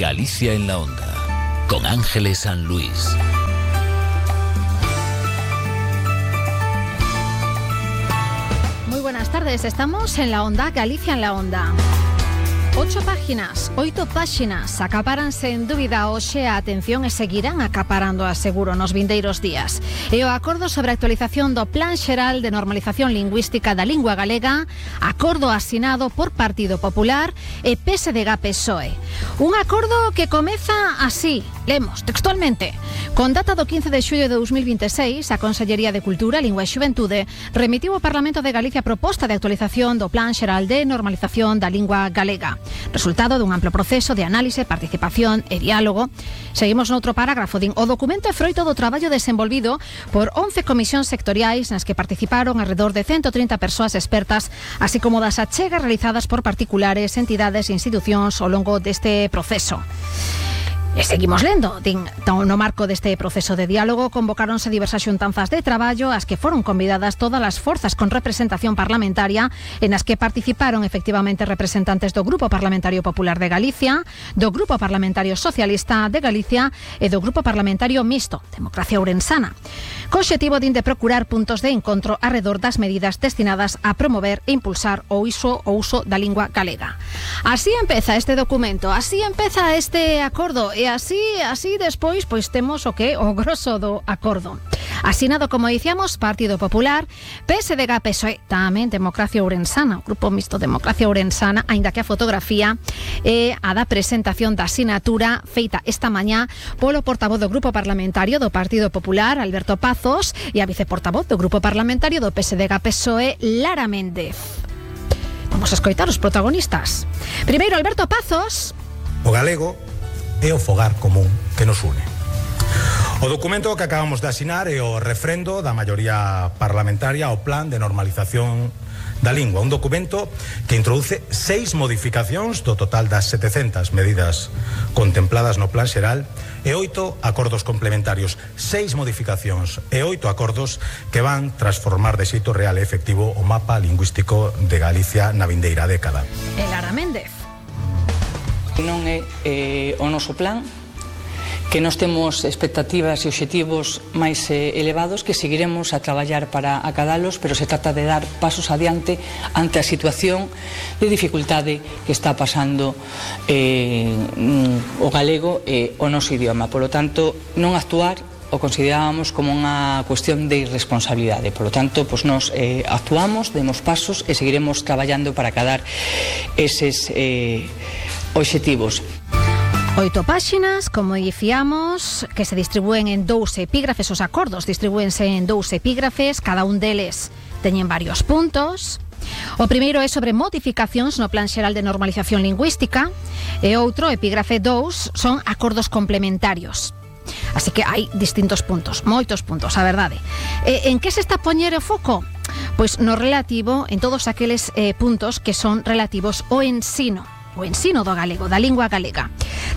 Galicia en la Onda, con Ángeles San Luis. Muy buenas tardes, estamos en la Onda, Galicia en la Onda. 8 páxinas acapáranse en dúbida hoxe a atención e seguirán acaparando a seguro nos vindeiros días. E o acordo sobre a actualización do Plan Xeral de Normalización Lingüística da Lingua Galega, acordo asinado por Partido Popular e PSDG-PSOE. Un acordo que comeza así, lemos textualmente. Con data do 15 de xullo de 2026, a Consellería de Cultura, Lingua e Xuventude remitiu ao Parlamento de Galicia a proposta de actualización do Plan Xeral de Normalización da Lingua Galega. Resultado dun amplo proceso de análise, participación e diálogo. Seguimos noutro parágrafo, din o documento é froito do traballo desenvolvido por 11 comisións sectoriais nas que participaron alrededor de 130 persoas expertas, así como das achegas realizadas por particulares, entidades e institucións ao longo deste proceso. E seguimos lendo, din, no marco deste proceso de diálogo convocáronse diversas xuntanzas de traballo as que foron convidadas todas as forzas con representación parlamentaria en as que participaron efectivamente representantes do Grupo Parlamentario Popular de Galicia, do Grupo Parlamentario Socialista de Galicia e do Grupo Parlamentario Mixto, Democracia Ourensana, co obxectivo de procurar puntos de encontro arredor das medidas destinadas a promover e impulsar o uso da lingua galega. Así empeza este documento, así empeza este acordo. E así despois pois temos o grosso do acordo. Asinado, como dicíamos, Partido Popular, PSDG-PSOE, tamén Democracia Ourensana, o Grupo Mixto Democracia Ourensana, aínda que a fotografía é a da presentación da sinatura feita esta mañá polo portavoz do Grupo Parlamentario do Partido Popular, Alberto Pazos, e a viceportavoz do Grupo Parlamentario do PSDG-PSOE, Lara Méndez. Vamos a escoitar os protagonistas. Primeiro, Alberto Pazos. O galego é o fogar común que nos une. O documento que acabamos de asinar é o refrendo da maioría parlamentaria ao Plan de Normalización da Lingua, un documento que introduce 6 modificacións do total das 700 medidas contempladas no Plan Xeral e 8 acordos complementarios, 6 modificacións e 8 acordos que van transformar de xeito real e efectivo o mapa lingüístico de Galicia na vindeira década. E Lara Méndez. Non é o noso plan, que nós temos expectativas e obxectivos máis elevados que seguiremos a traballar para acadalos, pero se trata de dar pasos adiante ante a situación de dificultade que está pasando o galego e o noso idioma. Por lo tanto, non actuar o considerábamos como unha cuestión de irresponsabilidade. Por lo tanto, pues nos actuamos, demos pasos e seguiremos traballando para acadar eses obxectivos. 8 páxinas, como dicíamos, que se distribúen en 2 epígrafes. Os acordos distribúense en 2 epígrafes, cada un deles teñen varios puntos. O primeiro é sobre modificacións no Plan Xeral de Normalización Lingüística e outro, epígrafe 2, son acordos complementarios. Así que hai distintos puntos, moitos puntos, a verdade. En que se está a poñer o foco? Pois no relativo, en todos aqueles puntos que son relativos ao ensino. O ensino do galego, da lingua galega.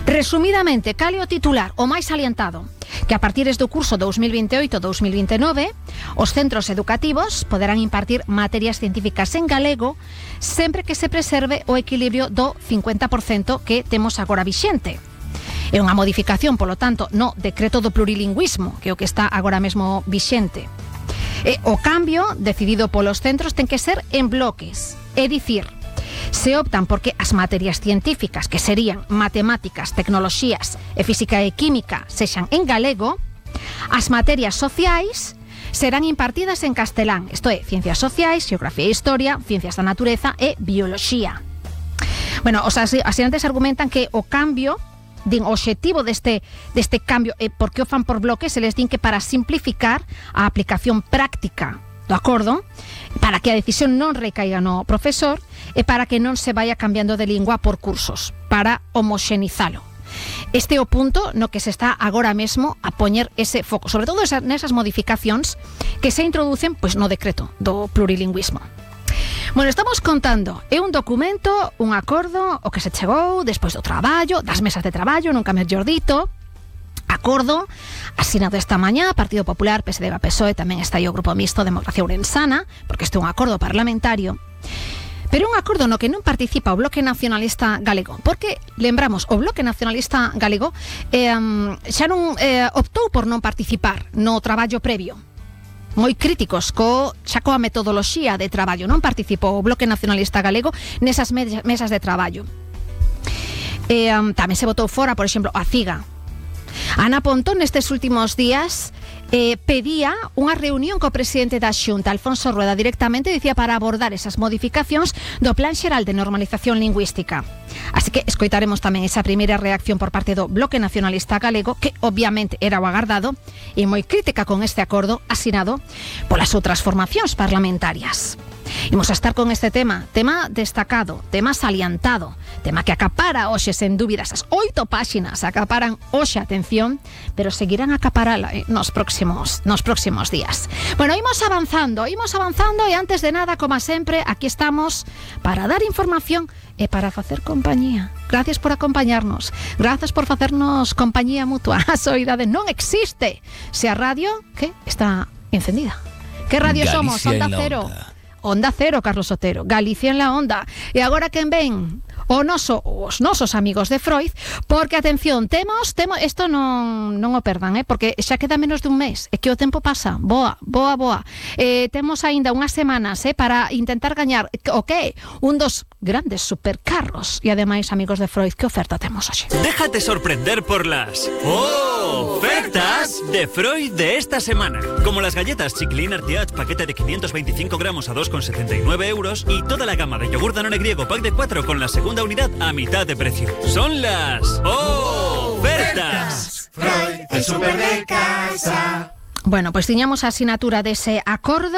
Resumidamente, cal é o titular, o máis salientado? Que a partir do curso 2028-2029, os centros educativos poderán impartir materias científicas en galego sempre que se preserve o equilibrio do 50% que temos agora vixente. É unha modificación, polo tanto, no decreto do plurilingüismo, que é o que está agora mesmo vixente. E o cambio decidido polos centros ten que ser en bloques, é dicir, se optan porque as materias científicas, que serían matemáticas, tecnoloxías e física e química, sexan en galego, as materias sociais serán impartidas en castelán, isto é, ciencias sociais, xeografía e historia, ciencias da natureza e bioloxía. Bueno, os asinantes argumentan que o cambio, din, o obxectivo deste cambio, e por que o fan por bloques, se les din que para simplificar a aplicación práctica do acordo, para que a decisión non recaiga no profesor e para que non se vaya cambiando de lingua por cursos, para homoxenizalo. Este é o punto no que se está agora mesmo a poñer ese foco, sobre todo nesas modificacións que se introducen pois no decreto do plurilingüismo. Bueno, estamos contando, é un documento, un acordo, o que se chegou despois do traballo, das mesas de traballo, nunca mellor dito. Acordo asinado esta mañá, Partido Popular, PSDG-PSOE, tamén está aí o Grupo Mixto Democracia Ourensana, porque este é un acordo parlamentario. Pero un acordo no que non participa o Bloque Nacionalista Galego, porque, lembramos, o Bloque Nacionalista Galego xa non optou por non participar no traballo previo. Moi críticos xa coa metodoloxía de traballo. Non participou o Bloque Nacionalista Galego nesas mesas de traballo. Tamén se botou fora, por exemplo, a CIGA. Ana Pontón nestes últimos días pedía unha reunión co presidente da Xunta, Alfonso Rueda, directamente, dicía, para abordar esas modificacións do Plan Xeral de Normalización Lingüística. Así que escoitaremos tamén esa primeira reacción por parte do Bloque Nacionalista Galego, que obviamente era o agardado, e moi crítica con este acordo asinado polas outras formacións parlamentarias. Imos a estar con este tema destacado, tema salientado, tema que acapara hoxe sen dúbidas as 8 páxinas, acaparan hoxe atención, pero seguirán a acaparala nos próximos días. Bueno, imos avanzando e antes de nada, como sempre, aquí estamos para dar información e para facer compañía. Gracias por acompañarnos, gracias por facernos compañía mutua. A soidade non existe se a radio que está encendida. Que radio Galicia somos? Onda Cero. Onda Cero, Carlos Otero, Galicia en la Onda. E agora quen ven? Os nosos amigos de Freud, porque, atención, temos isto non o perdan, porque xa queda menos de un mes, e que o tempo pasa, boa. Temos aínda unhas semanas para intentar gañar o que? Un dos grandes supercarros. E ademais, amigos de Freud, que oferta temos hoxe? Déjate sorprender por las ofertas de Freud de esta semana. Como las galletas Chiclin Artiach, paquete de 525 gramos a 2,79 euros, y toda la gama de yogur Danone griego pack de 4 con la segunda unidad a mitad de precio. Son las ofertas. Freud, el super de casa. Bueno, pues tiñamos a asinatura dese acordo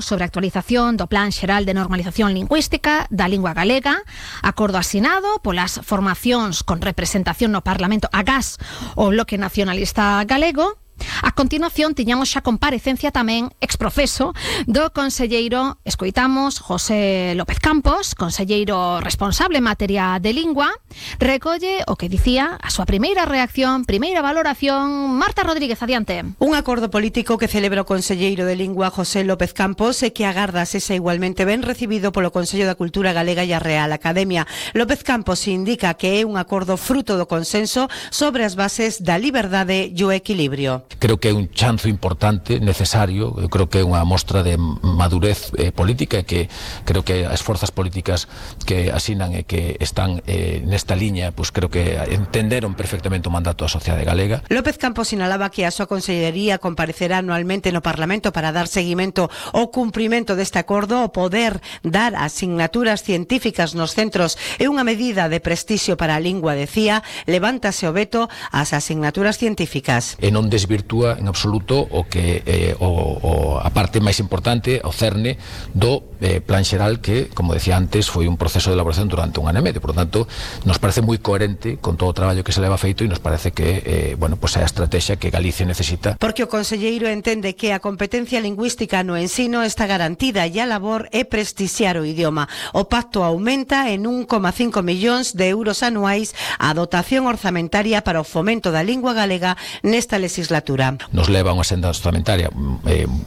sobre a actualización do Plan Xeral de Normalización Lingüística da Lingua Galega, acordo asinado polas formacións con representación no Parlamento agás o Bloque Nacionalista Galego. A continuación tiñamos xa comparecencia tamén exprofeso do conselleiro, escoitamos, José López Campos, conselleiro responsable en materia de lingua. Recolle o que dicía a súa primeira reacción, primeira valoración. Marta Rodríguez, adiante. Un acordo político que celebra o conselleiro de lingua José López Campos e que agarda sexa igualmente ben recibido polo Consello da Cultura Galega e a Real Academia. López Campos indica que é un acordo fruto do consenso sobre as bases da liberdade e o equilibrio. Creo que é un chanzo importante, necesario. Eu creo que é unha mostra de madurez política, e que creo que as forzas políticas que asinan e que están nesta liña, pues creo que entenderon perfectamente o mandato da sociedade galega. López Campos sinalaba que a súa consellería comparecerá anualmente no Parlamento para dar seguimento ao cumprimento deste acordo. O poder dar asignaturas científicas nos centros é unha medida de prestixio para a lingua, decía. Levántase o veto ás asignaturas científicas. E non desvirtúa en absoluto o que a parte máis importante, o cerne do Plan Xeral, que, como decía antes, foi un proceso de elaboración durante un ano e medio. Por lo tanto, nos parece moi coherente con todo o traballo que se leva feito, e nos parece que é a estrategia que Galicia necesita. Porque o conselleiro entende que a competencia lingüística no ensino está garantida e a labor é prestixiar o idioma. O pacto aumenta en 1,5 millóns de euros anuais a dotación orzamentaria para o fomento da lingua galega nesta legislatura. Nos leva a unha senda orzamentaria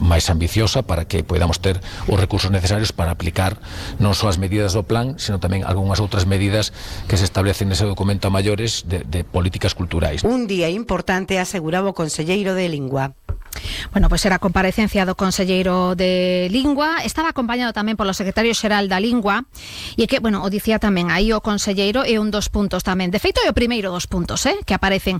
máis ambiciosa para que podamos ter os recursos necesarios para aplicar non só as medidas do plan, sino tamén algunhas outras medidas que se establecen nese documento a maiores de políticas culturais. Un día importante, aseguraba o conselleiro de Lingua. Bueno, pois era a comparecencia do conselleiro de Lingua. Estaba acompañado tamén polo secretario xeral da Lingua, e que, bueno, o dicía tamén aí o conselleiro, é un dos puntos tamén. De feito, é o primeiro dos puntos que aparecen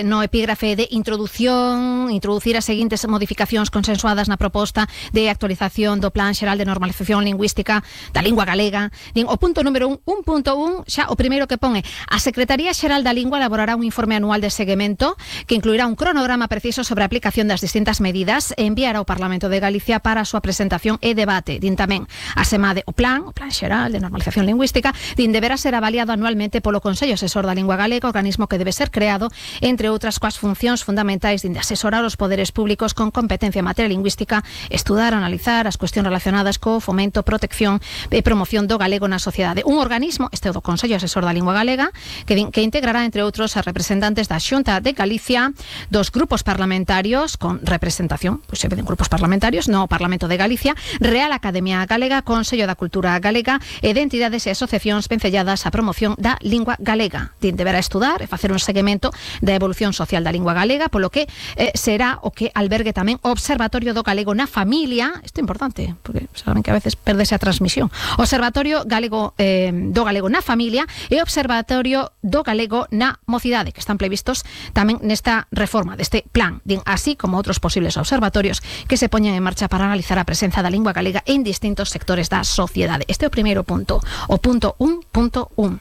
no epígrafe de introducir as seguintes modificacións consensuadas na proposta de actualización do Plan Xeral de Normalización Lingüística da Lingua Galega. O punto número 1.1, xa o primeiro que pone: a Secretaría Xeral da Lingua elaborará un informe anual de seguimento que incluirá un cronograma preciso sobre a aplicación das distintas medidas e enviar ao Parlamento de Galicia para a súa presentación e debate. Din tamén a SEMADE o Plan Xeral de Normalización Lingüística, deberá ser avaliado anualmente polo Consello Asesor da Lingua Galega, organismo que debe ser creado, entre outras, coas funcións fundamentais de asesorar os poderes públicos con competencia en materia lingüística, estudar, analizar as cuestións relacionadas co fomento, protección e promoción do galego na sociedade. Un organismo, este do Consello Asesor da Lingua Galega, que integrará, entre outros, a representantes da Xunta de Galicia, dos grupos parlamentarios partidos con representación, pois se veden grupos parlamentarios no Parlamento de Galicia, Real Academia Galega, Consello da Cultura Galega e de entidades e asociacións vencelladas á promoción da lingua galega. Deberá estudar e facer un seguimento da evolución social da lingua galega, polo que será o que albergue tamén o Observatorio do Galego na Familia. Isto é importante, porque saben que a veces perdese a transmisión. Observatorio Galego do Galego na Familia e Observatorio do Galego na Mocidade, que están previstos tamén nesta reforma deste plan, así como outros posibles observatorios que se poñen en marcha para analizar a presenza da lingua galega en distintos sectores da sociedade. Este é o primeiro punto, o punto 1.1.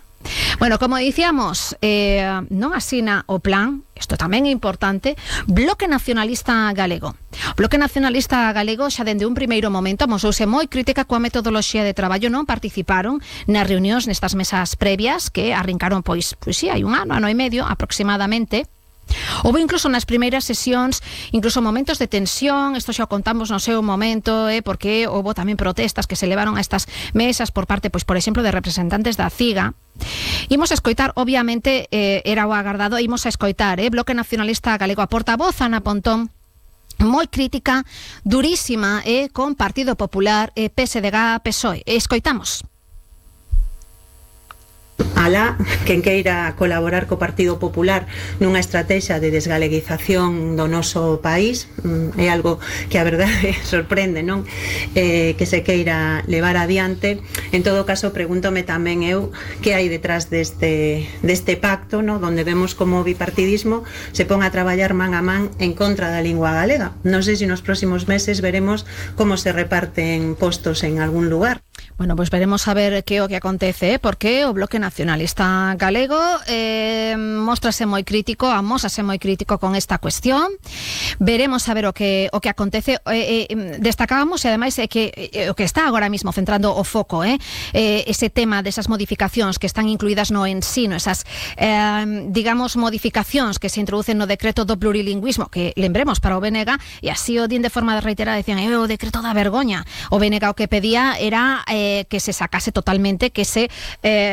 Bueno, como dicíamos, non asina o plan, isto tamén é importante, Bloque Nacionalista Galego. Bloque Nacionalista Galego xa dende un primeiro momento amosouse moi crítica coa metodoloxía de traballo, non participaron nas reunións nestas mesas previas que arrincaron pois si, hai un ano e medio aproximadamente. Houve incluso nas primeiras sesións incluso momentos de tensión, isto xa o contamos no seu momento, porque houve tamén protestas que se levaron a estas mesas por parte, pois por exemplo, de representantes da CIGA. Imos a escoitar, obviamente, era o agardado, imos a escoitar, Bloque Nacionalista Galego, a portavoz Ana Pontón, moi crítica, durísima, con Partido Popular, PSDG, PSOE. Escoitamos. Alá, quen queira colaborar co Partido Popular nunha estrategia de desgaleguización do noso país, é algo que a verdade sorprende, non? Que se queira levar adiante. En todo caso, pregúntome tamén eu que hai detrás deste pacto, non? Donde vemos como o bipartidismo se pon a traballar man a man en contra da lingua galega. Non sei se nos próximos meses veremos como se reparten postos en algún lugar. Bueno, pois veremos a ver que o que acontece, porque o Bloque Nacionalista Galego móstrase moi crítico, amósase moi crítico con esta cuestión. Veremos a ver o que acontece. Destacábamos, e ademais que o que está agora mismo centrando o foco, ese tema desas modificacións que están incluídas no ensino, esas, digamos, modificacións que se introducen no decreto do plurilingüismo, que lembremos para o BNG, e así o din de forma reiterada, decían, o decreto da vergoña. O BNG o que pedía era que se sacase totalmente, que se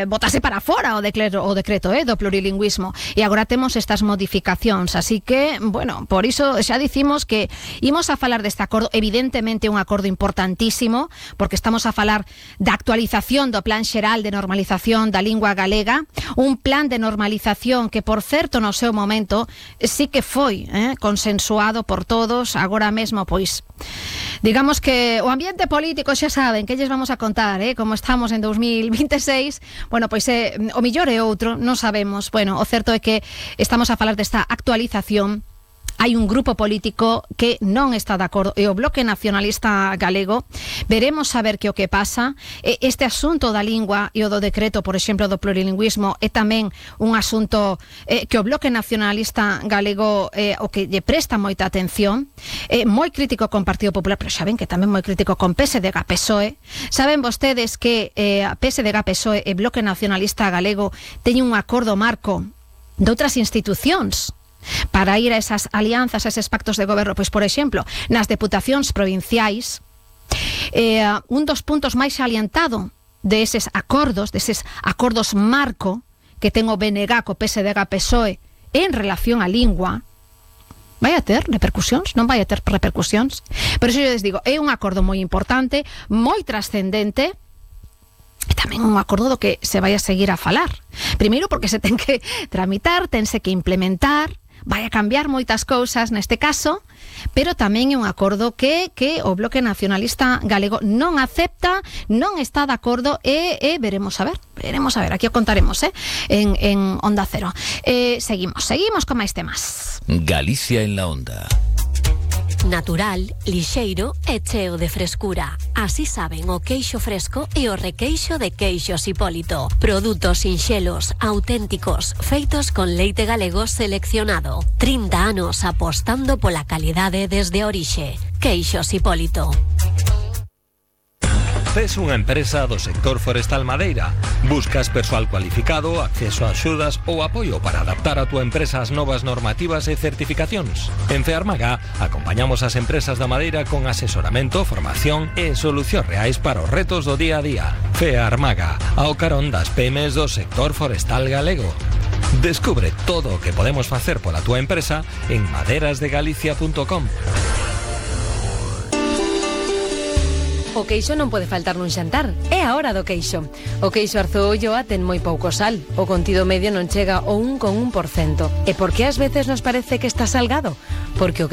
botase para fora o decreto do plurilingüismo, e agora temos estas modificacións, así que, bueno, por iso xa dicimos que imos a falar deste acordo, evidentemente un acordo importantísimo, porque estamos a falar da actualización do Plan Xeral de Normalización da Lingua Galega, un plan de normalización que, por certo, no seu momento sí que foi consensuado por todos. Agora mesmo, pois, digamos que o ambiente político xa saben que lles vamos a contar, como estamos en 2026, bueno, pois o millor é outro, non sabemos. Bueno, o certo é que estamos a falar desta actualización. Hai un grupo político que non está de acordo, e o Bloque Nacionalista Galego. Veremos a ver que o que pasa. Este asunto da lingua e o do decreto, por exemplo, do plurilingüismo, é tamén un asunto que o Bloque Nacionalista Galego o que lle presta moita atención. Moi crítico con Partido Popular, pero xa ven que tamén moi crítico con PSDG, PSOE. Saben vostedes que PSDG, PSOE e Bloque Nacionalista Galego teñen un acordo marco de outras institucións para ir a esas alianzas, a eses pactos de goberno. Pois, por exemplo, nas deputacións provinciais, un dos puntos máis salientado deses acordos marco que ten o BNG co PSDG, PSOE en relación á lingua, vai a ter repercusións, non vai a ter repercusións. Por iso eu les digo, é un acordo moi importante, moi trascendente, e tamén un acordo do que se vai a seguir a falar. Primeiro porque se ten que tramitar, tense que implementar, vai a cambiar moitas cousas neste caso, pero tamén é un acordo que o Bloque Nacionalista Galego non acepta, non está de acordo, e veremos a ver, aquí o contaremos en Onda Cero. Seguimos con máis temas. Galicia en la Onda. Natural, lixeiro e cheo de frescura. Así saben o queixo fresco e o requeixo de Queixos Hipólito. Produtos sinxelos, auténticos, feitos con leite galego seleccionado. 30 anos apostando pola calidade desde a orixe. Queixos Hipólito. Tes unha empresa do sector forestal madeira. Buscas persoal cualificado, acceso a axudas ou apoio para adaptar a túa empresa ás novas normativas e certificacións. En Fearmaga acompañamos as empresas da madeira con asesoramento, formación e solucións reais para os retos do día a día. Fearmaga, ao carón das PMs do sector forestal galego. Descubre todo o que podemos facer pola túa empresa en maderasdegalicia.com. O queixo non pode faltar nun xantar. É a hora do queixo. O queixo Arzoolloa ten moi pouco sal. O contido medio non chega ao 1,1%. E por que ás veces nos parece que está salgado? Porque o